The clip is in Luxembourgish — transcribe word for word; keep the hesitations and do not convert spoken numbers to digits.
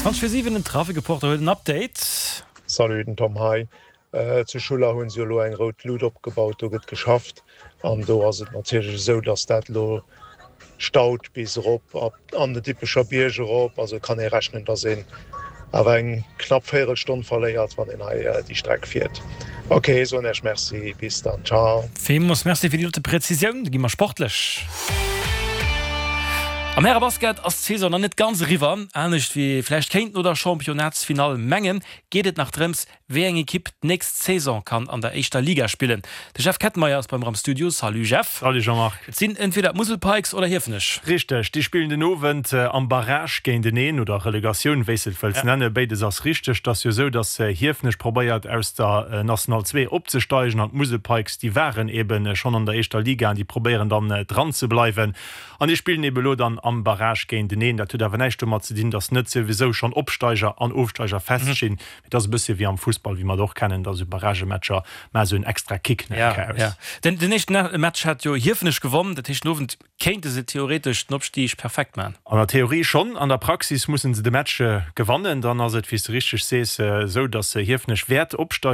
Zwanzeg vir siwen, den Trafikreporter huet en Update. Salut, den Tom hei. Zu Schuller hunn se jo elo eng rout Lut opgebaut, do gëtt geschafft an do ass et natierlech esou, datt dat elo staut bis erop an den Dippecher Bierg erop. Also kann ee rechnen, datt een awer eng knapp Véierelstonn verléiert, wann een hei déi Streck fiert. Ok, soen Iech Merci, bis dann, ciao. Villmools Merci fir déi dote Präzisioun. Da gi mer sportlech. Am Härebasket ass d'Saison nach net ganz eriwwer. Anescht wéi ee vläicht kéint no der Championnatsfinall mengen, geet et nach drëms, wéi eng Ekipp d'nächst Saison kann an der éischter Liga spillen. De Jeff Kettenmeyer ass bei mer am Studio. Salut Jeff. Salut Jean-Marc. Et sinn entweder d'Musel Pikes oder Hiefenech. Richteg, déi spillen den Owend am Barrage géinteneen, oder Relegatioun, wéi s de et wëlls nennen. Béides ass richteg. Et ass jo esou, datt Hiefenech probéiert aus der National zwee opzesteigen an d'Musel Pikes, déi waren eben schonn an der éischter Liga an déi probéieren dann dran ze bleiwen. An déi spillen eben elo dann am Barrage géinteneen. Dat huet awer näischt domat ze dinn, datt net souwisou schonn Opsteiger an Ofsteiger feststinn. Mee et ass e bëssche wéi am Fussball, wéi mer et och kennen, datt esou Barragematcher maache sou en extra Kick nach eng Kéier aus. Ja, den den éischten Match hat jo Hiefenech gewonn. Dat heescht, den Owend kéinte se theoretesch den Opstig perfekt maachen. An der Theorie schonn, an der Praxis musse se de Match gewannen. Dann ass et, wéi s de richteg sees, esou, datt Hiefenech wäert opsteigen.